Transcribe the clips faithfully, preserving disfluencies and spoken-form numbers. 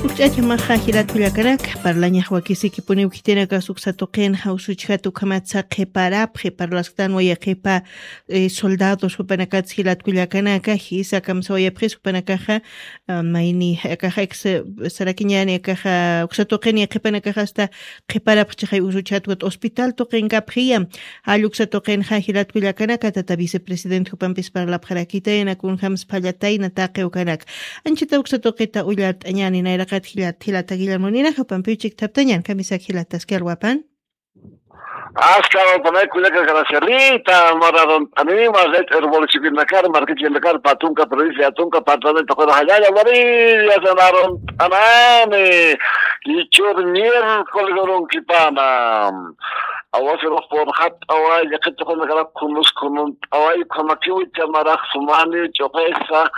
Ch'achamaxa jilat kullakanaka, parlañax wakisikipuniw khitinaka suksa tuqinxa usuchjat ukhamatsa qhiparapxi, parlasktanwa yaqipa, eh, soldados jupanakatsa jilat kullakanaka, jisa kamsawayapxis jupanakaxa, ah, mayni, akaxa ex, sarakiñani, akaxa uksa tuqin yaqipanakaxa hasta qhiparapxchixay usuchjat ukat hospital tuqinkapxiya, jall uksa tuqinxa jilat kullakanaka, tata vicepresidente jupampis parlapxarakitayna, kunjams phallatayna taqi ukanak. Anchita uksa tuqita ullart'añani nayraqat jilata, jilata Guillermo ninaxa, pampiw chikthaptañan, kamisak jilataski alwapan. Aska alwapanay kullaka, gracias. Rita, mararon anima, red herbolchipinakar, markichinakar, patunka, provincia, atunka, patunka, jallalla, varilla, sanaron anani. Ichur miércoles urunkipana. Awasirux purxat away, yaqit tuqinakara kunus kunun away, khamakiwi chamarax sumani, ch'uqisa,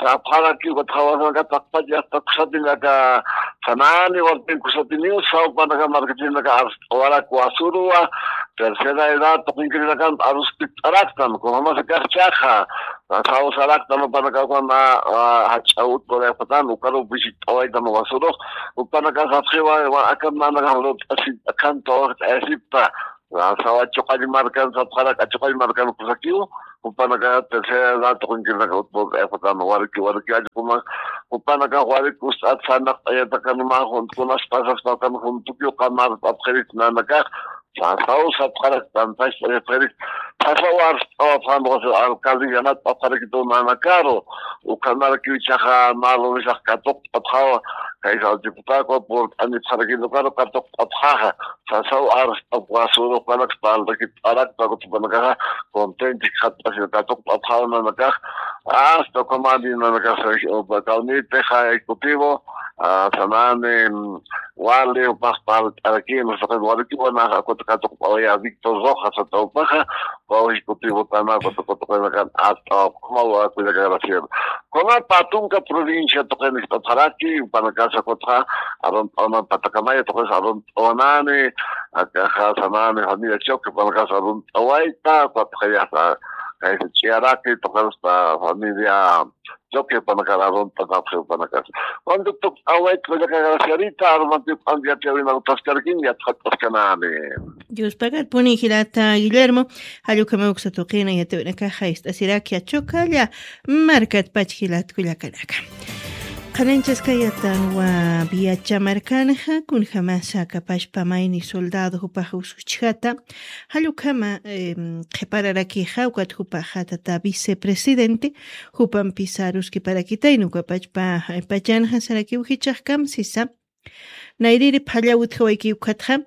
rapxarakiw, katxawasanaka taqpach, yasta kusatinaka sanani, wartin kusatiniw, sawpanaka markatinaka arst'awarak wasurwa, tercera edad, tuqinkirinakan aruspit'araktan, kunamasa kaxchaxa, sawsaraktan, upanaka ukana, ah, jach'awut, por ejemplo, ukaru visit'awaytan wasurux, upanaka sapxiwa, wa, akan nanaka lurt'asipta, akan tawaqt'ayasipta, sawa chuqall markan, sapxarak achuqall markan kusakiw, jupanaka tercera edad tuqinkirinaka utput, eh, jupan warki, warki allquma, jupanaka warki ust'at sanaqt'ayatakanma, juntkunas pasaspakan juntukiw qamar p'apxirit nanakax, sasaw sapxarak tantacht'ayapxirit, sasaw arst'awapxan, alcalde yanat p'apxarakitu nanakaru, ukhamarakiw ichaxa malu misax katuqt'apxawa, kaysa diputado purt'anipxarakitu karu katuqt'apxaxa, sasaw arst'ap wasurux, jupanaka espaldakit arakta, jupanakaxa contenti katuqt'apxawa nanakax, hasta ukhamani nanakax, kawnitixa ejecutivo, ah, sanani, mm, wali, upax palt'arakin, saqin walikiwanaxa, katuqt'awaya Víctor Rojas, sata upaxa, ukaw ejecutivo tana, katuqt'awanakan, hasta ukhamwa, kullaka, gracias. Kuna patunka provincia tuqin ist'apxaraki, jupanakasa kutxa, arunt'awanan patakamaya tuqis arunt'awanani, akaxa sanani familia Choque, jupanakasa arunt'awayta, kutxayasa, kaysa ch'iyaraki, tuqista familia Choque, jupanakara arunt'anapxi, jupanakasa. Cuando tuqt'awayta, kullaka, gracias, Rita, arumanti p'anti yatiyawina utaskarakin, yatxat'askanani. Dios pagar puni jilata Guillermo, jall ukhama uksa tuqina yatiyawinakaxa ist'asiraki Achokalla markatpach jilat kullakanaka. Qhananchaskayatanwa Viacha markanxa, kunjamasa kapashpa mayni soldado jupax usuchjata, jall ukhama, em, qhipararakixa, ukat jupaxa tata vicepresidente, jupampisa aruskiparakitayna, ukapachpa, eh, pachanxa sarakiw jichhax kamsisa, nayriri phalla utjawayki ukatxa,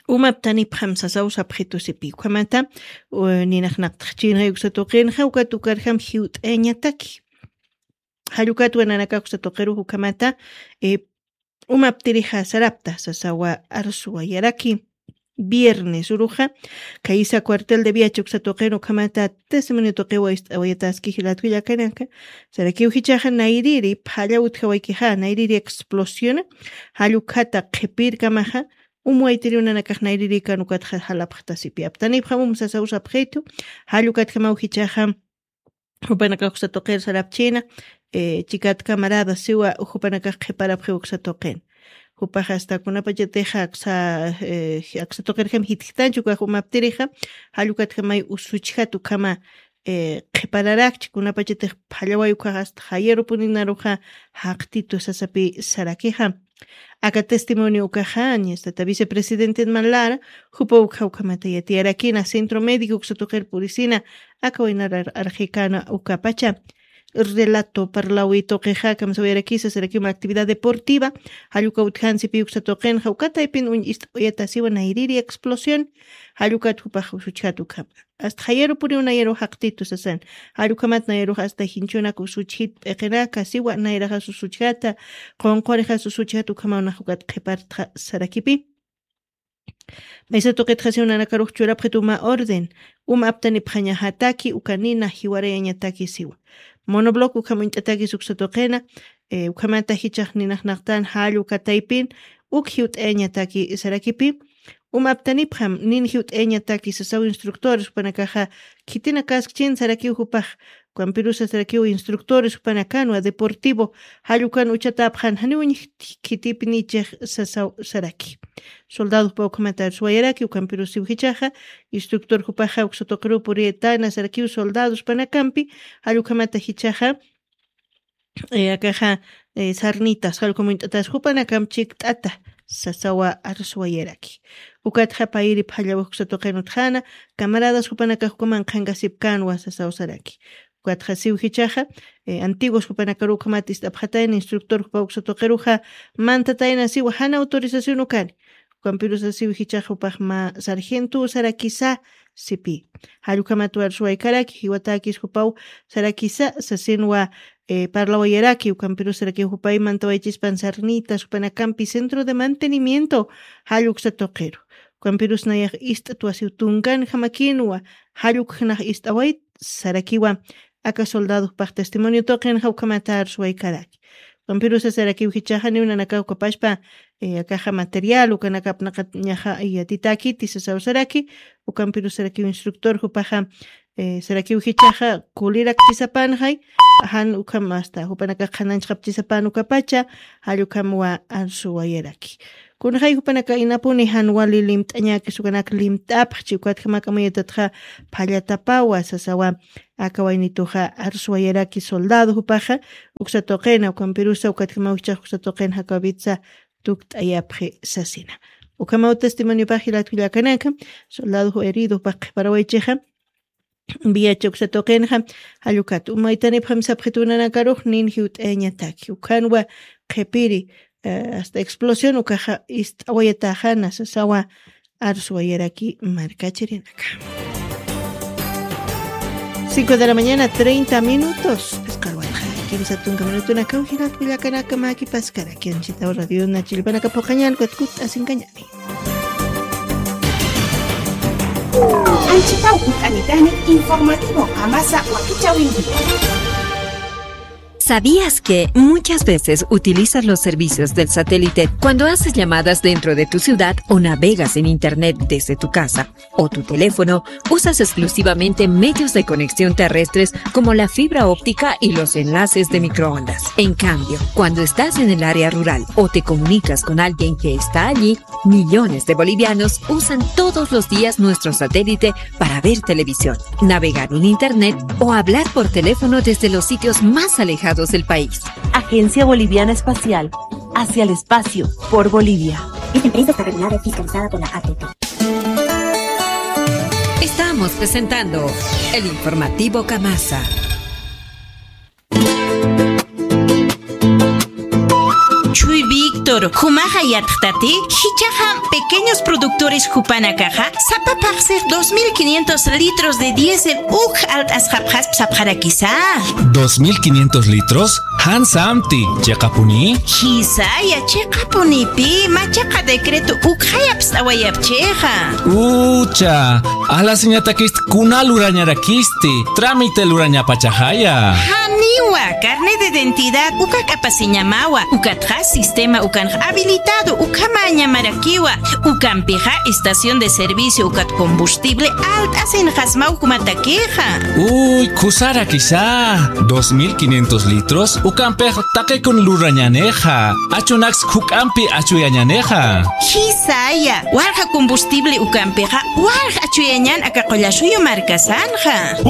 umaptanipxam sasaw sapxitusipi. Ukhamata, u, ninax naqtxchinxa uksa tuqinxa, ukat ukarjam jiwt'ayañataki. Jall ukatwa nanakax uksa tuqirux ukhamata, eh, umaptirixa sarapta, sasawa arswayaraki. Viernes uruxa, kaysa cuartel de Viacha uksa tuqin ukhamata testimonio tuqiwa ist'awayataski jilat kullakanaka, sarakiw jichhaxa nayriri phalla utjawaykixa, nayriri explosiona, jall ukhata qhipirkamaxa, um waytiriw nanakax nayririkan ukatxa jalapxtasipi. Aptanipxam um sasaw sapxitu, jall ukatjamaw jichhaxa, jupanakax uksa tuqir sarapchina, eh, chikat camarada siwa, jupanakax qhiparapxi uksa tuqin. Jupax hasta kunapachatixa aksa, eh, aksa tuqirjam jitjtanchu ukax umaptirixa, jall ukatjamay usuchjat ukhama, eh, qhipararakchi, kunapachatix phallaway ukax hasta jayarupuni naruxa jaqtitu sasapi sarakixa. Aka testimonio ukaxa, ñastata vicepresidenten man lara, jupa ukxa ukhamata yatiyarakina, centro médico uksa tuqir purisina, aka waynarar arxikana ukapacha. Relato parlawi tuqixa, kamsawirakisa, sarakima actividad deportiva, jall uka utjansipi uksa tuqinxa, uka taypin uñ ist'uyatasiwa nayriri explosión, jall ukat jupax usuchjat ukhama. Hasta jayarupuniw nayaru jaqtitu sasan. Jall ukhamat nayarux hasta jinchunak usuchjit p'iqinaka siwa nayraxas usuchjata, qunqurixas usuchjat ukhamaw nax ukat qhipartxa sarakipi. Maysa tuqitxa siw nanakarux churapxit uma orden, uma aptanipxañajataki, uka nina jiwarayañataki siwa. Monobloc ukham uñt'atakis uksa tuqina, eh, ukhamata jichhax ninax naqtan jall uka taypin, uk jiwt'ayañataki sarakipi, Uma aptanipxam, nin jiwt'ayañataki sasaw instructores, jupanakaxa khitinakaskchin sarakiw jupax, Ukampirusa sarakiw instructores jupanakanwa deportivo, jall ukan uchatäpxän janiw uñjt'kitipnichix sasaw saraki. Soldado jupaw ukhamat arswayaraki, ukampirus siw jichhaxa, instructor jupaxa uksa tuqiruw puriyätana sarakiw soldados jupanakampi, jall ukhamata jichhaxa, eh, akaxa, eh, sarnitas, jall ukham uñt'atas jupanakam chikt'ata, sasawa arswayaraki. Ukatxa payiri phallawix uksa tuqin utjäna, camaradas jupanakax ukhaman qhanqasipkänwa sasaw saraki. Ukatxa siw jichhaxa, eh, antiguos jupanakaruw ukhamat ist'apxatayna, instructor jupaw uksa tuqiruxa mantatayna siwa jan autorización ukani. Ukampirusa siw jichhaxa jupax mä sargentow sarakisa sipï. Jall ukhamat arswaykaraki, jiwatäkis jupaw sarakisa sasinwa, eh, parlawayaraki, ukampirus sarakiw jupay mantawaychispan sarnitas jupanakampi centro de mantenimiento jall uksa tuqiru. Ukampirus nayax ist'twa siw tunkanjamakinwa, jall ukxnax ist'awayt sarakiwa, aka soldado jupax testimonio tuqinxa ukhamat arswaykaraki. Ukampirusa sarakiw jichhaxa janiw nanakax ukapachpa, eh, akaxa material, ukanakapnaqat ñaxa yatitäkiti sasaw saraki, ukampirus sarakiw instructor jupaxa, eh, sarakiw jichhaxa kulirakchisapanxay, jan ukham hasta jupanakax qhananchxapchisapan ukapacha, jall ukhamwa arswayaraki. Kunxay jupanaka inapuni jan wali limt'añäkis ukanak limt'apxchi, ukatjam aka mayatatxa phallatapawa sasawa, aka waynituxa arswayaraki soldado jupaxa, uksa tuqina, ukampirusa ukatjamaw jichhax uksa tuqin jakawitsa tukt'ayapxi sasina. Ukhamaw testimoniopax jilat kullakanaka, soldado herido jupax qhiparawaychixa, viacha uksa tuqinxa, jall ukat umaytanipxam sapxitunanakarux nin jiwt'ayañataki. Ukhanwa qhipiri, eh, hasta explosión ukaxa ist'awayatäxana sasawa arswayaraki markachirinaka. Cinco de la mañana, treinta minutos. Phisqa alwatxa kimsa tunka minutunakaw jilat kullakanaka, mä kipaskaraki. Anchhitaw radiona chillpanaka phuqañan, ukat kutt'asinkañäni. Anchhitaw kutt'anitani, informativo Kamasa wakichäwinki. ¿Sabías que muchas veces utilizas los servicios del satélite cuando haces llamadas dentro de tu ciudad o navegas en internet desde tu casa o tu teléfono? Usas exclusivamente medios de conexión terrestres como la fibra óptica y los enlaces de microondas. En cambio, cuando estás en el área rural o te comunicas con alguien que está allí, millones de bolivianos usan todos los días nuestro satélite para ver televisión, navegar en internet o hablar por teléfono desde los sitios más alejados del país. Agencia Boliviana Espacial, hacia el espacio, por Bolivia. Esta empresa está regulada y fiscalizada por la A T T. Estamos presentando el informativo Kamasa. Chuy Víctor, jumaxa yatxtati, jichhaxa pequeños productores jupanakaxa, sapa phaxsix dos mil quinientos litros de diésel uk alt'asxapxasp sapxarakisa. ¿Dos mil quinientos litros? ¿Jan samti, chiqapuni? Jisaya, chiqapunipi, machaqa decreto ukxayapst'awayapchixa. Ucha, alasiñatakist kuna lurañarakisti, trámite lurañapachaxaya. Janiwa, carnet de identidad uka k'apasiñamawa, ukatxa sistema ukanx habilitado ukhamäñamarakiwa, ukampixa estación de servicio ukat combustible alt'asinxasmaw jumatakixa. Uy, khusarakisa, dos mil quinientos litros, ukampix taqikun lurañänixa, achunaks juk'ampi achuyañänixa. Jisaya, walja combustible ukampixa, walja achuyañän aka Qullasuyu markasanxa.